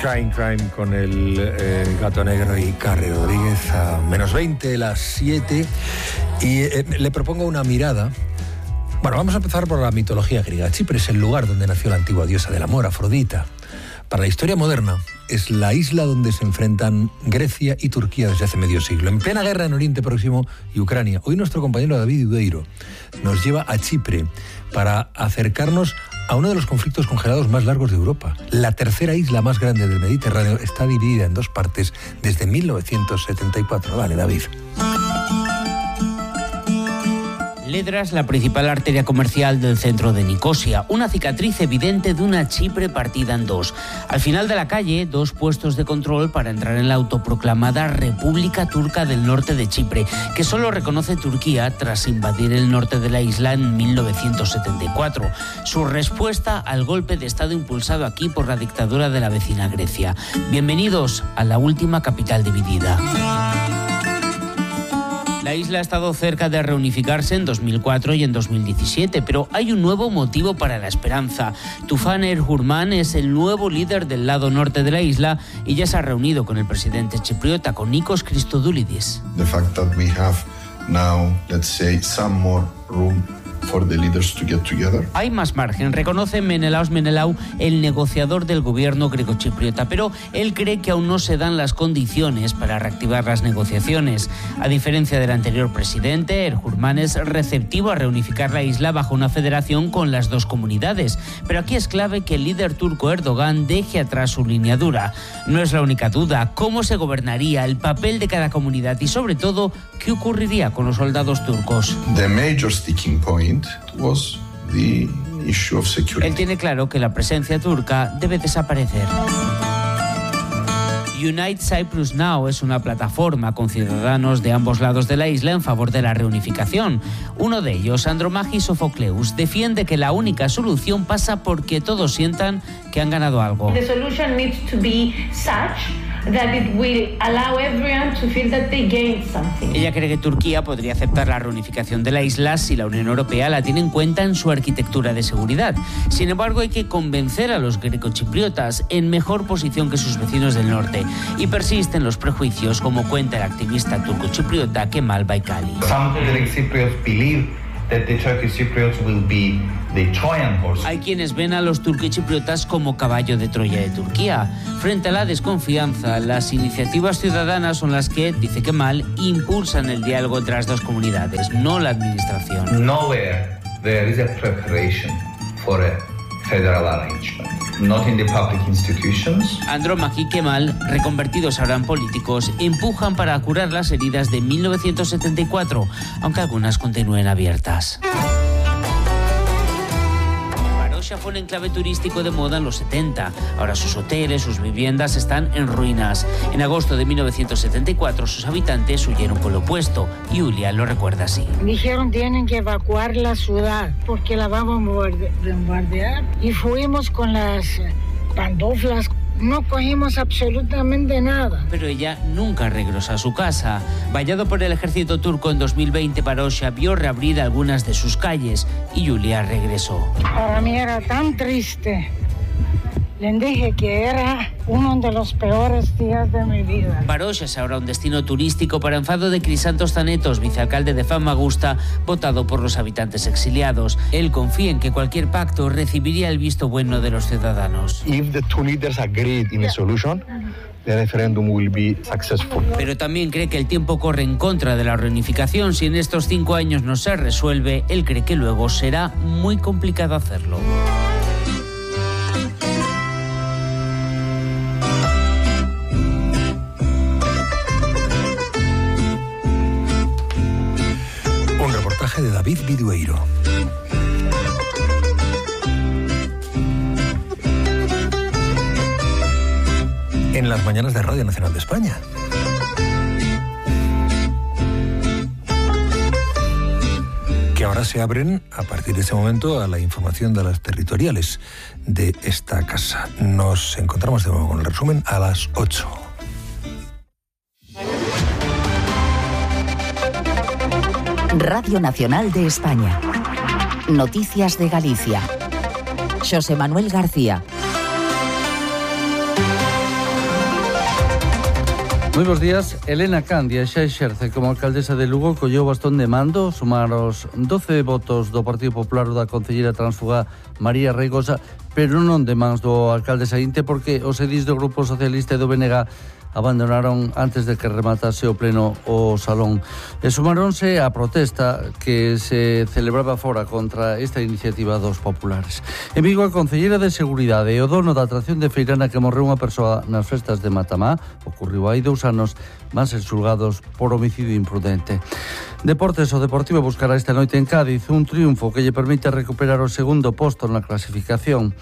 Crime con el Gato Negro y Carrie Rodríguez a menos 20, las 7. Y le propongo una mirada. Bueno, vamos a empezar por la mitología griega. Chipre es el lugar donde nació la antigua diosa del amor, Afrodita. Para la historia moderna, es la isla donde se enfrentan Grecia y Turquía desde hace medio siglo, en plena guerra en Oriente Próximo y Ucrania. Hoy nuestro compañero David Udeiro nos lleva a Chipre para acercarnos a uno de los conflictos congelados más largos de Europa. La tercera isla más grande del Mediterráneo está dividida en dos partes desde 1974. Vale, David. Ledra es la principal arteria comercial del centro de Nicosia, una cicatriz evidente de una Chipre partida en dos. Al final de la calle, dos puestos de control para entrar en la autoproclamada República Turca del Norte de Chipre, que solo reconoce Turquía tras invadir el norte de la isla en 1974. Su respuesta al golpe de Estado impulsado aquí por la dictadura de la vecina Grecia. Bienvenidos a la última capital dividida. La isla ha estado cerca de reunificarse en 2004 y en 2017, pero hay un nuevo motivo para la esperanza. Tufan Erhurman es el nuevo líder del lado norte de la isla y ya se ha reunido con el presidente chipriota, con Nikos Christodoulidis. The fact that we have now, let's say, some more room for the leaders to get together. Hay más margen, reconoce Menelaos Menelau, el negociador del gobierno grecochipriota, pero él cree que aún no se dan las condiciones para reactivar las negociaciones. A diferencia del anterior presidente, Erhurman es receptivo a reunificar la isla bajo una federación con las dos comunidades. Pero aquí es clave que el líder turco Erdogan deje atrás su línea dura. No es la única duda. ¿Cómo se gobernaría? El papel de cada comunidad y, sobre todo, ¿qué ocurriría con los soldados turcos? The major sticking point was the issue of security. Él tiene claro que la presencia turca debe desaparecer. Unite Cyprus Now es una plataforma con ciudadanos de ambos lados de la isla en favor de la reunificación. Uno de ellos, Andromachis Sofocleus, defiende que la única solución pasa porque todos sientan que han ganado algo. The solution needs to be such that it will allow everyone to feel that they gained something. Ella cree que Turquía podría aceptar la reunificación de la isla si la Unión Europea la tiene en cuenta en su arquitectura de seguridad. Sin embargo, hay que convencer a los grecochipriotas en mejor posición que sus vecinos del norte. Y persisten los prejuicios, como cuenta el activista turco-chipriota Kemal Baykali. Some Greek Cypriots believe that the Turkish Cypriots will be the Trojan horse. Hay quienes ven a los turcochipriotas como caballo de Troya de Turquía. Frente a la desconfianza, las iniciativas ciudadanas son las que, dice Kemal, impulsan el diálogo entre las dos comunidades, no la administración. Nowhere there is a preparation for a federal arrangement. Not in the public institutions. Andromachi y Kemal, reconvertidos ahora en políticos, empujan para curar las heridas de 1974, aunque algunas continúen abiertas. Varosha fue un enclave turístico de moda en los 70. Ahora sus hoteles, sus viviendas están en ruinas. En agosto de 1974 sus habitantes huyeron con lo opuesto. Yulia lo recuerda así. Dijeron tienen que evacuar la ciudad porque la vamos a bombardear. Y fuimos con las pantuflas. No cogimos absolutamente nada. Pero ella nunca regresó a su casa. Vallado por el ejército turco en 2020, Varosha vio reabrir algunas de sus calles y Yulia regresó. Para mí era tan triste. Les dije que era uno de los peores días de mi vida. Varosha es ahora un destino turístico para enfado de Crisantos Tanetos, vicealcalde de Famagusta, votado por los habitantes exiliados. Él confía en que cualquier pacto recibiría el visto bueno de los ciudadanos. If the two leaders agreed in a solution, the referendum will be successful. Pero también cree que el tiempo corre en contra de la reunificación. Si en estos 5 años no se resuelve, él cree que luego será muy complicado hacerlo. De David Vidueiro. En las mañanas de Radio Nacional de España. Que ahora se abren a partir de ese momento a la información de las territoriales de esta casa. Nos encontramos de nuevo con el resumen a las 8. Radio Nacional de España. Noticias de Galicia. José Manuel García. Moi bons días. Elena Candia xa exerce como alcaldesa de Lugo, colleu bastón de mando, sumar os 12 votos do Partido Popular ou da concelleira transfuga María Reigosa, pero non de mans do alcalde saínte, porque os edís do Grupo Socialista e do BNG abandonaron antes de que rematase o pleno o salón. E sumaronse á protesta que se celebraba fora contra esta iniciativa dos populares. En Vigo, a concelleira de Seguridade e o dono da atracción de Feirana que morreu unha persoa nas festas de Matamá, ocorreu hai 2 anos, van ser xulgados por homicidio imprudente. Deportes, o Deportivo buscará esta noite en Cádiz un triunfo que lle permite recuperar o segundo posto na clasificación.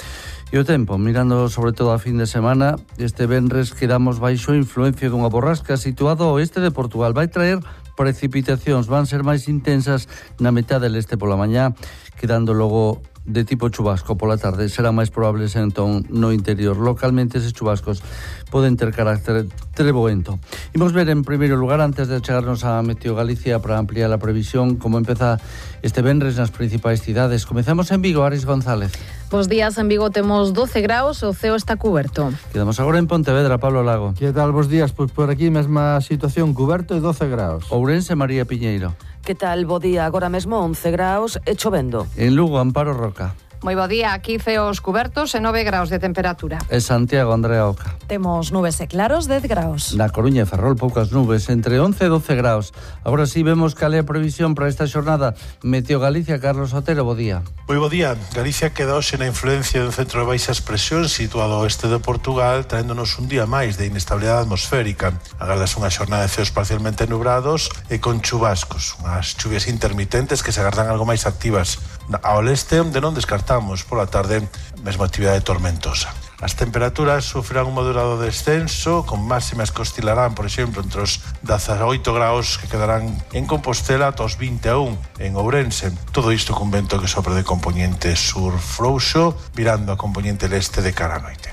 E o tempo, mirando sobre todo a fin de semana, este venres quedamos baixo a influencia dunha borrasca situado ao oeste de Portugal. Vai traer precipitacións, van ser máis intensas na metade leste pola mañá, quedando logo de tipo chubasco pola tarde. Serán máis probables entón no interior. Localmente eses chubascos poden ter carácter treboento. Imos ver en primeiro lugar, antes de chegarnos a Meteo Galicia para ampliar a previsión, como empeza este venres nas principais cidades. Comezamos en Vigo, Aris González. Bos días, en Vigo temos 12 graus, o ceo está cuberto. Quedamos agora en Pontevedra, Pablo Lago. Que tal, bos días? Pois por aquí mesma situación, cuberto e 12 graus. Ourense, María Piñeiro. Que tal, bo día, agora mesmo 11 graus e chovendo. En Lugo, Amparo Roca. Moi bo día, aquí ceos cubertos e 9 graus de temperatura. E Santiago, Andrea Oca. Temos nubes e claros, 10 graus. Na Coruña e Ferrol, poucas nubes, entre 11 e 12 graus. Agora sí, vemos cal é a previsión para esta xornada. Meteo Galicia, Carlos Otero, bo día. Moi bo día. Galicia queda hoxe na influencia dun centro de baixas presións situado ao oeste de Portugal, traéndonos un día máis de inestabilidade atmosférica. Agardas unha xornada de ceos parcialmente nubrados e con chubascos. Unhas chuvias intermitentes que se agardan algo máis activas ao leste, onde non descartamos pola tarde mesma actividade tormentosa. As temperaturas sufrirán un moderado descenso, con máximas que oscilarán, por exemplo, entre os 18 graus que quedarán en Compostela ata os 21 en Ourense. Todo isto con vento que sopra de componente sur frouxo, virando a componente leste de cara a noite.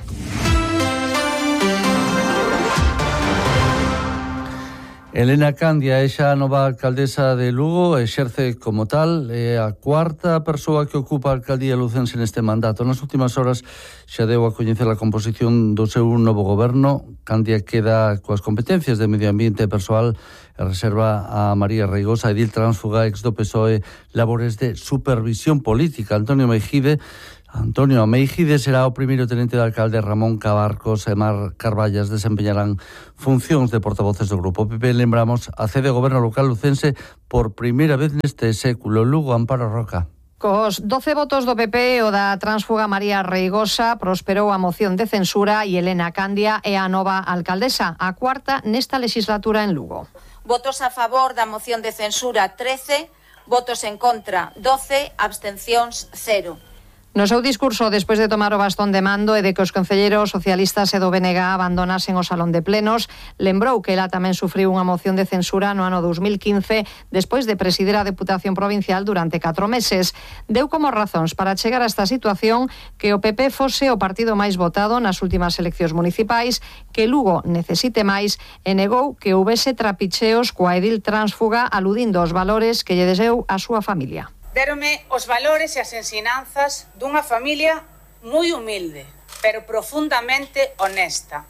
Elena Candia é xa a nova alcaldesa de Lugo, exerce como tal, é a cuarta persoa que ocupa a alcaldía lucense neste mandato. Nas últimas horas xa deu a coñecer a composición do seu novo goberno. Candia queda coas competencias de medio ambiente persoal e reserva a María Reigosa, edil transfuga ex do PSOE, labores de supervisión política. Antonio Meijide será o primeiro tenente de alcalde. Ramón Cabarcos e Mar Carballas desempeñarán funcións de portavoces do Grupo PP. Lembramos, a sede do goberno local lucense por primeira vez neste século. Lugo, Amparo Roca. Cos 12 votos do PP, o da transfuga María Reigosa prosperou a moción de censura e Elena Candia é a nova alcaldesa, a cuarta nesta legislatura en Lugo. Votos a favor da moción de censura 13, votos en contra 12, abstencións 0. No seu discurso, despois de tomar o bastón de mando e de que os concelleiros socialistas e do BNG abandonasen o salón de plenos, lembrou que ela tamén sufriu unha moción de censura no ano 2015 despois de presidir a Deputación Provincial durante 4 meses. Deu como razóns para chegar a esta situación que o PP fose o partido máis votado nas últimas eleccións municipais, que Lugo necesite máis e negou que houbese trapicheos coa edil transfuga aludindo aos valores que lle deseu a súa familia. Dérome os valores e as ensinanzas dunha familia moi humilde, pero profundamente honesta.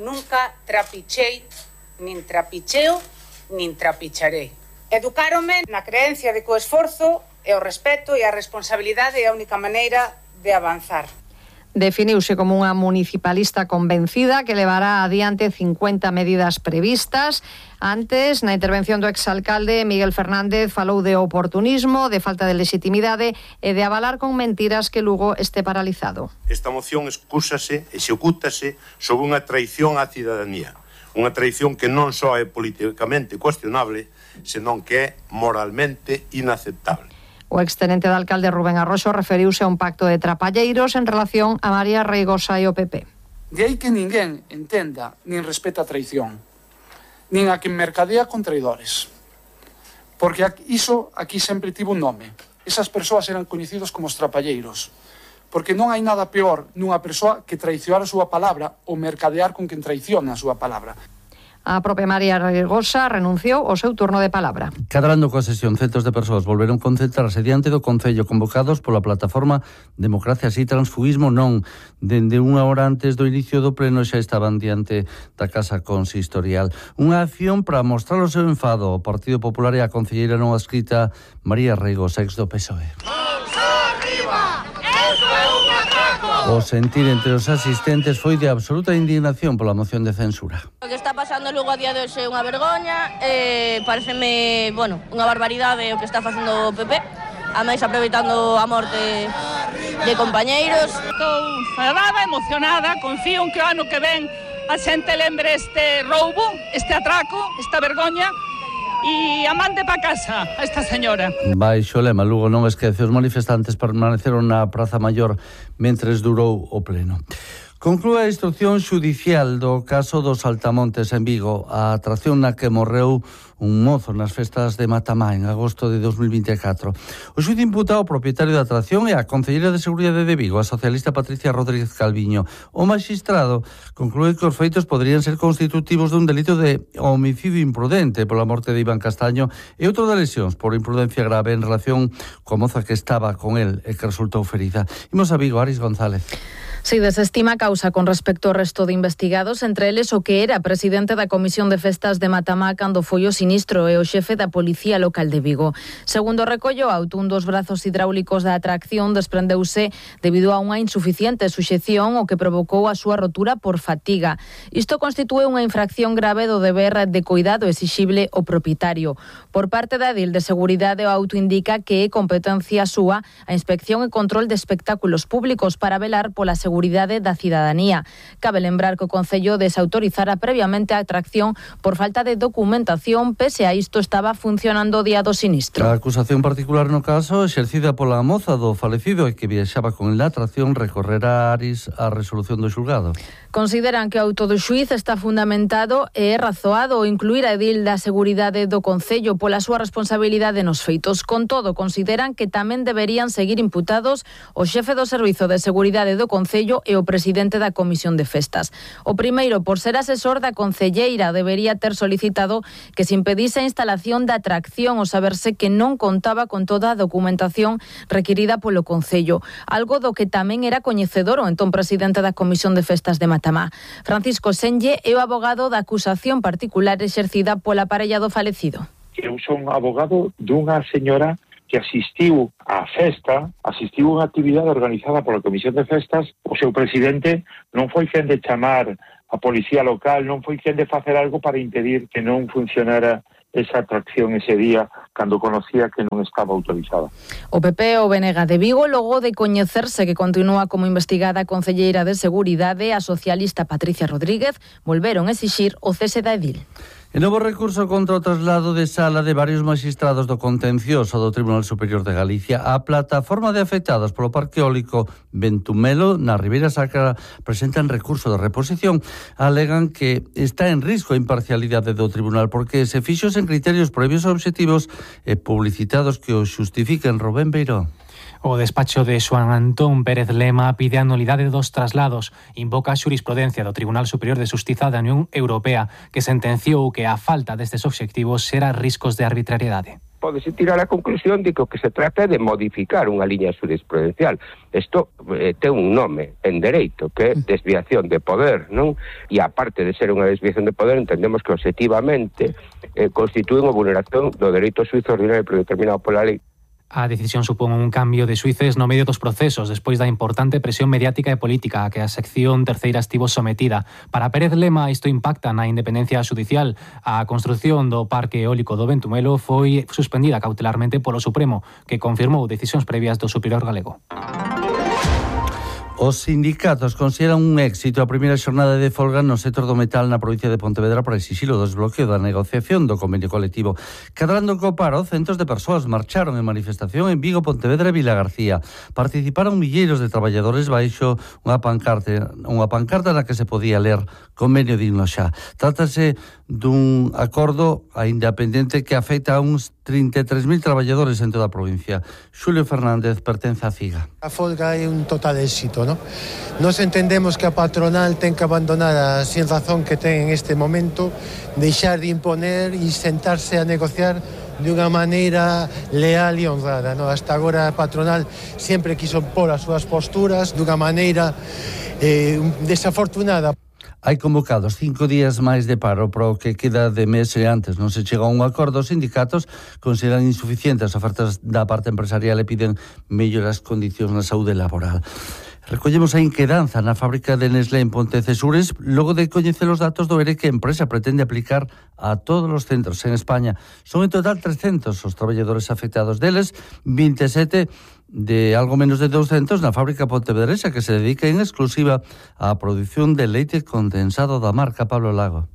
Nunca trapichei, nin trapicheo, nin trapicharei. Educáronme na creencia de que o esforzo e o respeto e a responsabilidade é a única maneira de avanzar. Definiuse como unha municipalista convencida que levará adiante 50 medidas previstas. Antes, na intervención do exalcalde Miguel Fernández falou de oportunismo, de falta de legitimidade e de avalar con mentiras que Lugo este paralizado. Esta moción excúsase, execútase sobre unha traición á cidadanía. Unha traición que non só é políticamente cuestionable, senón que é moralmente inaceptable. O extenente de alcalde Rubén Arroxo referiuse a un pacto de trapalleiros en relación a María Reigosa e o PP. De aí que ninguén entenda nin respeta a traición, nin a que mercadea con traidores. Porque iso aquí sempre tivo un nome. Esas persoas eran coñecidos como os trapalleiros. Porque non hai nada peor nunha persoa que traicionar a súa palabra ou mercadear con quen traiciona a súa palabra. A propia María Regosa renunciou ao seu turno de palabra. Cadrando coa sesión, centos de persoas volveron concentrarse diante do Concello convocados pola plataforma Democracia Si Transfugismo Non. Dende unha hora antes do inicio do pleno xa estaban diante da Casa Consistorial. Unha acción para mostrar o seu enfado ao Partido Popular e a concelleira non adscrita María Regosa, ex do PSOE. O sentir entre os asistentes foi de absoluta indignación pola moción de censura. O que está pasando luego a día de hoxe é unha vergoña, pareceme, unha barbaridade o que está facendo o PP, a máis aproveitando a morte de compañeiros. Estou enfadada, emocionada, confío en que o ano que ven a xente lembre este roubo, este atraco, esta vergoña, e a mande pa casa a esta señora. Baixo lema, Lugo non esquece, os manifestantes permaneceron na Praza Maior mentres durou o pleno. Conclúe a instrucción xudicial do caso dos Saltamontes en Vigo, a atracción na que morreu un mozo nas festas de Matamá en agosto de 2024. O xuíz imputa ao propietario da atracción e a concelleira de Seguridade de Vigo, a socialista Patricia Rodríguez Calviño. O magistrado conclúe que os feitos poderían ser constitutivos dun delito de homicidio imprudente pola morte de Iván Castaño e outro de lesións por imprudencia grave en relación coa moza que estaba con el e que resultou ferida. Imos a Vigo, Aris González. Si desestima causa con respecto ao resto de investigados, entre eles o que era presidente da Comisión de Festas de Matamá cando foi o sinistro e o xefe da Policía Local de Vigo. Segundo recollo auto, un dos brazos hidráulicos da atracción desprendeuse debido a unha insuficiente suxección o que provocou a súa rotura por fatiga. Isto constitúe unha infracción grave do deber de cuidado exixible ao propietario. Por parte da Edil de Seguridade, o auto indica que é competencia súa a inspección e control de espectáculos públicos para velar pola seguridade da cidadanía. Cabe lembrar que o Concello desautorizara previamente a atracción por falta de documentación, pese a isto estaba funcionando o día do sinistro. A acusación particular no caso, exercida pola moza do falecido e que viaxaba con la atracción, recorrerá Aris a resolución do xulgado. Consideran que o auto do xuíz está fundamentado e é razoado incluir a Edil da Seguridade do Concello pola súa responsabilidade nos feitos. Con todo, consideran que tamén deberían seguir imputados o xefe do Servizo de Seguridade do Concello e o presidente da Comisión de Festas. O primeiro, por ser asesor da concelleira, debería ter solicitado que se impedise a instalación da atracción ao saberse que non contaba con toda a documentación requirida polo Concello, algo do que tamén era coñecedor o entón presidente da Comisión de Festas de Matamá. Francisco Senlle é o abogado da acusación particular exercida pola parella do falecido. Eu son abogado dunha señora que asistiu á festa, asistiu a unha actividade organizada pola Comisión de Festas. O seu presidente non foi quen de chamar a policía local, non foi quen de facer algo para impedir que non funcionara esa atracción ese día cando conocía que non estaba autorizada. O PP o BNG de Vigo, logo de coñecerse que continúa como investigada a concelleira de Seguridade, a socialista Patricia Rodríguez, volveron a exixir o cese da Edil. E novo recurso contra o traslado de sala de varios magistrados do contencioso do Tribunal Superior de Galicia. A plataforma de afectados polo Parque Eólico Ventumelo na Ribeira Sacra presentan recurso de reposición. Alegan que está en risco a imparcialidade do tribunal porque se fixo sen criterios previos e obxectivos e publicitados que o xustifiquen. Rubén Beiró. O despacho de Xoán Antón Pérez Lema pide a nulidade dos traslados. Invoca a xurisprudencia do Tribunal Superior de Xustiza da Unión Europea, que sentenciou que a falta destes obxectivos xera riscos de arbitrariedade. Pódese tirar a conclusión de que o que se trata é de modificar unha liña jurisprudencial. Isto ten un nome en dereito, que é desviación de poder, non? E aparte de ser unha desviación de poder, entendemos que obxectivamente constitúe unha vulneración do dereito suízo ordinario predeterminado pola lei. A decisión supón un cambio de xuíces no medio dos procesos despois da importante presión mediática e política a que a sección terceira estivo sometida. Para Pérez Lema, isto impacta na independencia xudicial. A construción do Parque Eólico do Ventumelo foi suspendida cautelarmente polo Supremo, que confirmou decisións previas do Superior Galego. Os sindicatos consideran un éxito a primeira xornada de folga no sector do metal na provincia de Pontevedra para exixir o desbloqueo da negociación do convenio colectivo. Cadrando co paro, centos de persoas marcharon en manifestación en Vigo, Pontevedra e Vilagarcía. Participaron milleiros de traballadores baixo unha pancarta na que se podía ler convenio digno xa. Trátase dun acordo aínda pendente que afecta a uns 33.000 traballadores en toda a provincia. Xulio Fernández pertence á CIGA. A folga é un total éxito, ¿no? Nos entendemos que a patronal ten que abandonar a sin razón que ten en este momento, deixar de imponer e sentarse a negociar de unha maneira leal e honrada, ¿no? Hasta agora a patronal sempre quiso pôr as súas posturas de unha maneira desafortunada. Hai convocados 5 días máis de paro para o que queda de mes e antes non se chega a un acordo. Os sindicatos consideran insuficientes as ofertas da parte empresarial e piden melloras condicións na saúde laboral. Recollemos a inquedanza na fábrica de Nestlé en Pontecesures logo de coñecer os datos do ERE que a empresa pretende aplicar a todos os centros en España. Son en total 300 os traballadores afectados, deles 27 de algo menos de 200 na fábrica pontevedresa que se dedica en exclusiva á produción de leite condensado da marca Pablo Lago.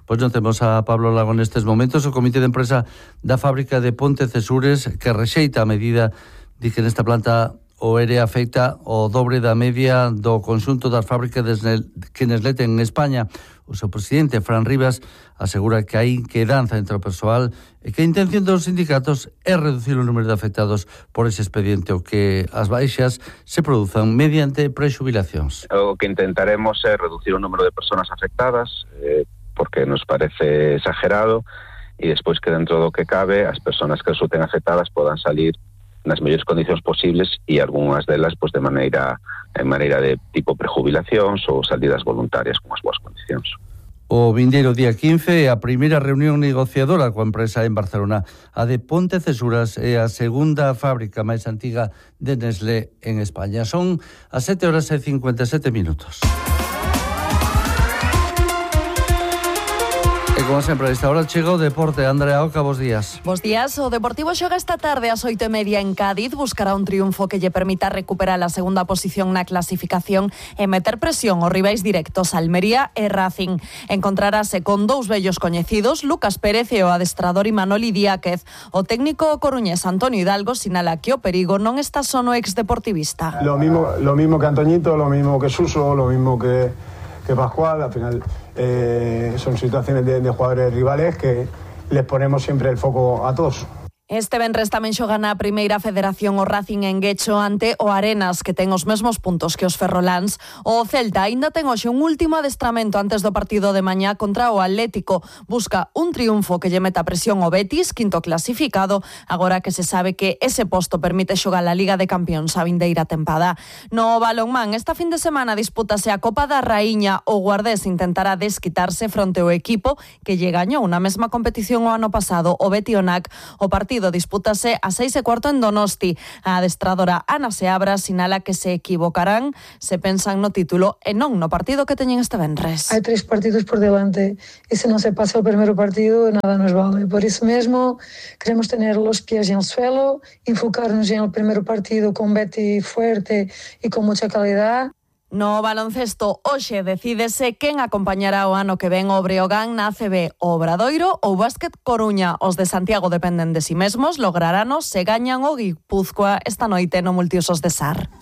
Pois non temos a Pablo Lago nestes momentos. O comité de empresa da fábrica de Pontecesures que rexeita a medida de que nesta planta o ERE afecta o dobre da media do conxunto das fábricas que Nestlé ten en España. O seu presidente, Fran Rivas, asegura que hai inquedanza entre o persoal e que a intención dos sindicatos é reducir o número de afectados por ese expediente o que as baixas se produzan mediante prexubilacións. O que intentaremos é reducir o número de persoas afectadas, porque nos parece exagerado, e despois que dentro do que cabe as persoas que resulten afectadas podan salir nas mellores condicións posibles e algunhas delas pois de maneira de tipo prejubilacións ou salidas voluntarias con as boas condicións. O vindeiro día 15 é a primeira reunión negociadora coa empresa en Barcelona. A de Pontecesures é a segunda fábrica máis antiga de Nestlé en España. Son as 7:57 minutos. E como sempre, a esta hora chega o deporte. Andrea Oca, bos días. Bos días. O Deportivo xoga esta tarde ás 8:30 en Cádiz. Buscará un triunfo que lle permita recuperar a segunda posición na clasificación e meter presión aos rivais directos Almería e Racing. Encontrarase con dous vellos coñecidos, Lucas Pérez e o adestrador Imanol Idiáquez. O técnico coruñés Antonio Hidalgo sinala que o perigo non está só no exdeportivista. Lo mismo que Antoñito, lo mismo que Suso, lo mismo que Pascual. Al final son situaciones de jugadores rivales que les ponemos siempre el foco a todos. Este venres tamén xoga na primeira federación o Racing en Guecho ante o Arenas, que ten os mesmos puntos que os ferroláns. O Celta aínda ten hoxe un último adestramento antes do partido de mañá contra o Atlético. Busca un triunfo que lle meta presión ao Betis, quinto clasificado, agora que se sabe que ese posto permite xogar a Liga de Campións a vindeira tempada. No balonmán, esta fin de semana dispútase a Copa da Raíña. O Guardés intentará desquitarse fronte ao equipo que lle gañou na mesma competición o ano pasado, o Betionac. O partido dispútase a 6:15 en Donosti. A adestradora Ana Seabra sinala que se equivocarán se pensan no título e non no partido que teñen este venres. Hai 3 partidos por delante e se non se pasa o primeiro partido nada nos vale. Por iso mesmo queremos tener los pies en el suelo, enfocarnos en el primeiro partido con Betty fuerte e con mucha calidad. No baloncesto, hoxe decídese quen acompañará o ano que ven o Breogán na ACB, o Obradoiro ou Básquet Coruña. Os de Santiago dependen de si mesmos, lograrános se gañan o Guipúzcoa esta noite no Multiusos de Sar.